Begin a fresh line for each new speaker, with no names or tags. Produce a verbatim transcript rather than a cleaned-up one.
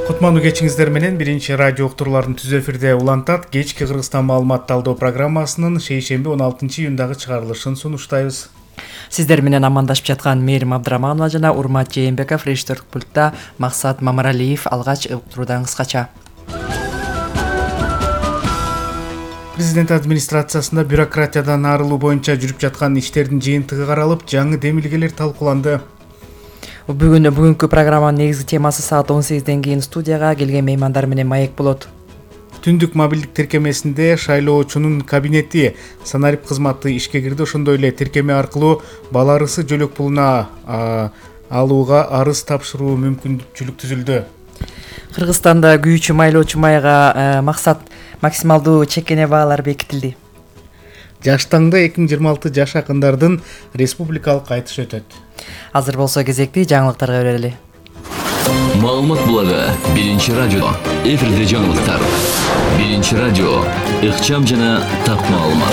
Кутмандуу кечиңиздер менен биринчи радио уктурууларын түз эфирде улантат. Кечки Кыргызстан маалымат талдоо программасынын шейшемби он алтынчы июндагы чыгарылышын сунуштайбыз.
Сиздер менен амандашып жаткан Мээрим Абдыраманова жана Урмат Жээнбеков, режиссер пультта Максат Мамаралиев. Алгач уктуруудан кыскача.
Президент администрациясында бюрократиядан арылуу боюнча жүрүп жаткан иштердин жыйынтыгы каралып, жаңы демилгелер талкууланды.
Бүгүн бүгүнкү программанын негизги темасы саат он сегизден кийин студияга келген меймандар менен маек болот.
Түндүк мобилдик тиркемесинде шайлоочунун кабинети санарип кызматы ишке кирди. Ошондой эле тиркеме аркылуу бала арысы жөлөк пулуна алууга арыз тапшыруу мүмкүнчүлүк түзүлдү.
Кыргызстанда күйүүчү майлоочу майга максат максималдуу чекене баалар бекитилди.
Жаштаңда эки миң жыйырма алты жаш акындардын республикалык айтышы өтөт.
Азыр болсо кезекти жаңылыктарга берели.
Маалымат булагы биринчи радио. Эфирде жаңылыктар. Биринчи радио. Ыкчам жана так маалымат.